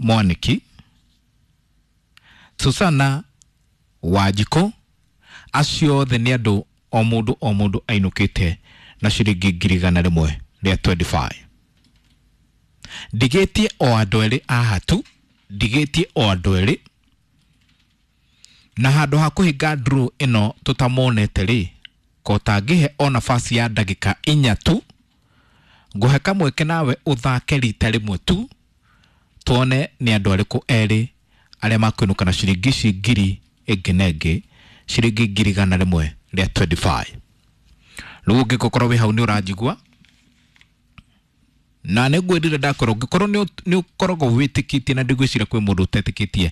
Mwaniki, Susana Wanjikũ, acio othe nĩ andũ o mũndũ o mũndũ ainũkĩte na ciringi 125,000. Ndigĩtie o andũ erĩ haha tu, ndigĩtie o andũ erĩ, na handũ ha kũhinga draw ĩno tũtamonete rĩ, ko tangĩhe o nafasi ya ndagĩka 4 tu, ngũhe kamweke nawe ũthake rita rĩmwe tu, tuone nĩ andũ arĩkũ erĩ arĩa makũinũka na ciringi ici ngiri ĩngĩ na ĩngĩ, ciringi 125,000. Rĩu ũngĩgũkorwo wĩ hau nĩ ũranjigua, na nĩ ngwĩrire ndakorwo ũngĩkorwo nĩ ũkoragwo wĩtĩkĩtie, na ndigwĩciria kwĩ mũndũ ũtetĩkĩtie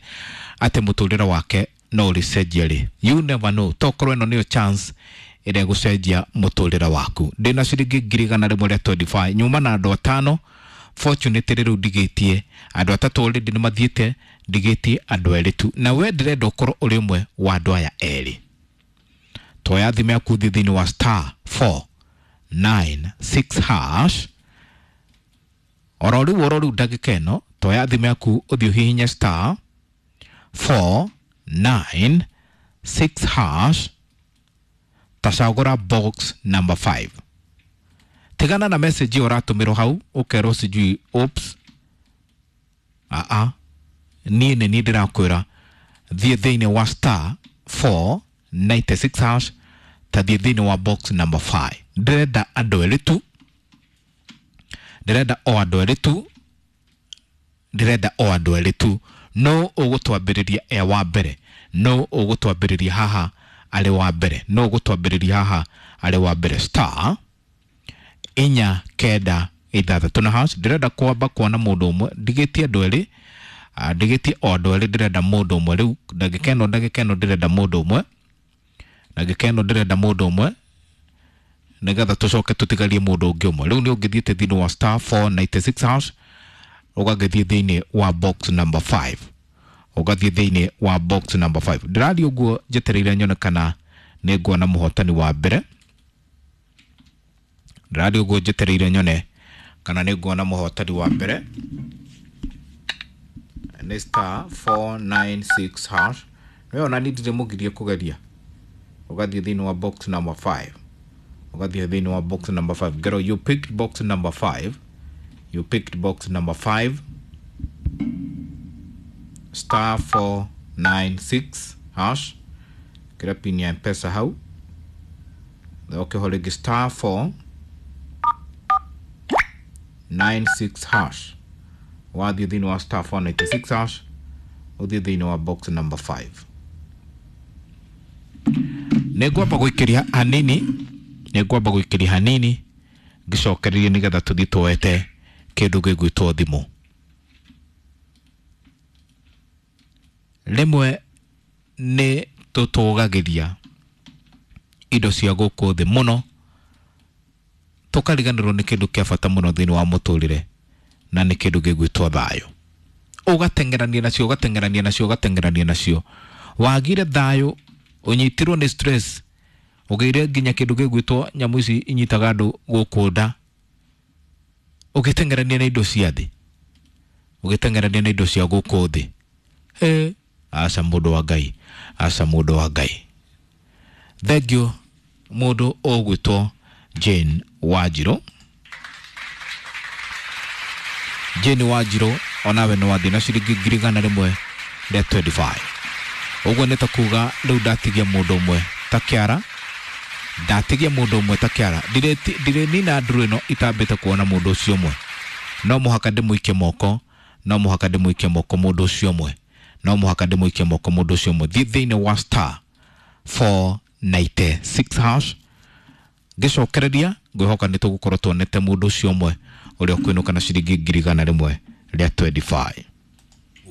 atĩ mũtũrĩre wake no ũrĩcenjia rĩ, you never know, tokorwo ĩno nĩyo chance ĩrĩa ĩgũcenjia mũtũrĩre waku. Ndĩna ciringi 125,000, nyuma na andũ 5. Fortunately rĩu ndigĩtie andũ 3 already nĩ mathiĩte, ndigĩtie andũ 2 tu, na we ndĩrenda ũkorwo ũrĩ ũmwe wa andũ aya erĩ. Toya thimũ yaku thiĩ thĩinĩ wa star 496 hash oro rĩu ndagĩka ĩno, toya thimũ yaku ũthiĩ ũhihinye star 496 hash, tacagũra box number 5. Tigana na message ĩyo ũratũmĩrwo hau ũkerwo sijui oops. Aa, niĩ nĩ niĩ ndĩrakwĩra thiĩ thĩinĩ wa star 496 hash, ta thiĩ thĩinĩ wa box number 5. Ndĩrenda andũ erĩ tu, ndĩrenda o andũ erĩ tu, ndĩrenda o andũ erĩ tu. No ũgũtwambĩrĩria e wa mbere, no ũgũtwambĩrĩria haha arĩ wa mbere, no ũgũtwambĩrĩria haha arĩ wa mbere. Star 4 9 6 na hash. Ndĩrenda kwamba kuona mũndũ ũmwe, ndigĩtie andũ erĩ, ndigĩtie o andũ erĩ, ndĩrenda mũndũ ũmwe rĩu ndagĩka ĩno, ndagĩka ĩno ndĩrenda mũndũ ũmwe, ndagĩka ĩno ndĩrenda mũndũ ũmwe, nĩgetha tũcoke tũtigarie mũndũ ũngĩ ũmwe. Rĩu nĩ ũngĩthiĩte thĩinĩ wa star 496 hash, ũgagĩthiĩ thĩinĩ wa box number 5, ũgathiĩ thĩinĩ wa box number 5. Ndĩrathiĩ ũguo njetereire nyone kana nĩ nguona mũhotani wa mbere. Ndĩrathiĩ ũguo njetereire nyone kana nĩ nguona mũhotani wa mbere. Nĩ star 496 hash. Nĩwe ona niĩ ndirĩ mũgirie kũgeria. Ũgathiĩ thĩinĩ wa box number 5, ũgathiĩ thĩinĩ wa box number 5. Girl, you picked box number 5, you picked box number 5, star 496 hash, kĩra pin ya M-Pesa hau, ũkĩho rĩngĩ star 496 hash. Wathiĩ thĩinĩ wa star 496 hash, ũthiĩ thĩinĩ wa box number 5. Nĩ ngwamba gũikĩria hanini, nĩ ngwamba gũikĩria hanini ngĩcokererie nĩgetha tũthiĩ tuoete kĩndũ gĩgwĩtwo thimũ. Rĩmwe nĩ tũtũgagĩria indo cia gũkũ thĩ mũno, tũkariganĩrwo nĩ kĩndũ kĩa bata mũno thĩinĩ wa mũtũrĩre, na nĩ kĩndũ gĩgwĩtwo thayũ. Ũgateng'erania nacio, ũgateng'erania nacio, ũgateng'erania nacio, wagire thayũ, ũnyitirwo nĩ stress, ũgĩire nginya kĩndũ gĩgwĩtwo nyamũ ici inyitaga andũ gũkũ nda, ũgĩteng'erania na indo cia thĩ, ũgĩteng'erania na indo cia gũkũ thĩ. Aca mũndũ wa Ngai, aca mũndũ wa Ngai. Thank you mũndũ ũgwĩtwo Jane Wanjirũ. Jane Wanjirũ, onawe nĩ wathiĩ na ciringi 125,000. Ũguo nĩ ta kuga rĩu ndatigia mũndũ ũmwe ta kĩara, ndatigia mũndũ ũmwe ta kĩara. Ndirĩ nina nduru ĩno itambĩte kuona mũndũ ũcio ũmwe. No mũhaka ndĩmũikie moko, no mũhaka ndĩmũikie moko mũndũ ũcio ũmwe, no mũhaka ndĩmũikie moko mũndũ ũcio ũmwe. Thiĩ thĩinĩ wa star 496 hash, ngĩcokereria ngwĩhoka nĩ tũgũkorwo tuonete mũndũ ũcio ũmwe ũrĩa ũkũinũka na ciringi 125,000.